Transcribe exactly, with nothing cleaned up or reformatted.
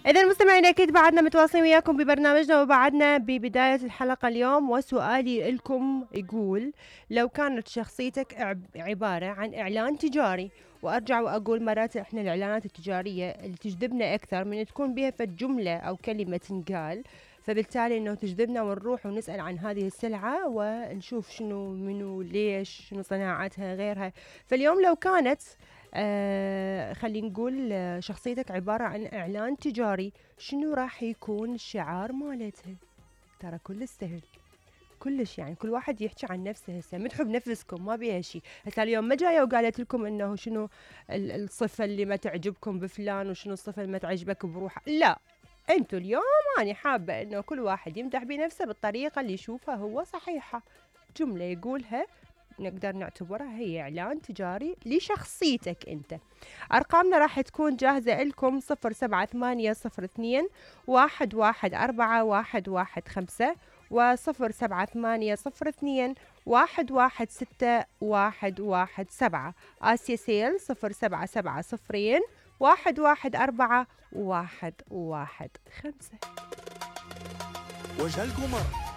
إذا المستمعين أكيد بعدنا متواصلين وياكم ببرنامجنا، وبعدنا ببداية الحلقة اليوم. وسؤالي لكم يقول: لو كانت شخصيتك عبارة عن إعلان تجاري، وأرجع وأقول مرات إحنا الإعلانات التجارية اللي تجذبنا أكثر من تكون بها فد جملة أو كلمة تنقال، فبالتالي إنه تجذبنا ونروح ونسأل عن هذه السلعة ونشوف شنو منو ليش شنو صناعتها غيرها. فاليوم لو كانت آه خلينا نقول آه شخصيتك عبارة عن إعلان تجاري، شنو راح يكون الشعار مالتها؟ ترى كل سهل كلش، يعني كل واحد يحكي عن نفسه. هسه مدحوا بنفسكم، ما بيها شيء. هسه اليوم ما جايه وقالت لكم انه شنو الصفه اللي ما تعجبكم بفلان وشنو الصفه اللي ما تعجبك بروحه، لا. انتوا اليوم انا حابه انه كل واحد يمدح بنفسه بالطريقه اللي يشوفها هو صحيحه. جمله يقولها نقدر نعتبرها هي إعلان تجاري لشخصيتك أنت. أرقامنا راح تكون جاهزة لكم: صفر سبعة ثمانية صفر اثنين واحد واحد أربعة واحد واحد خمسة وصفر سبعة ثمانية صفر اثنين واحد واحد ستة واحد واحد سبعة. آسيا سيل صفر سبعة سبعة صفرين واحد واحد أربعة واحد واحد خمسة. وجه القمر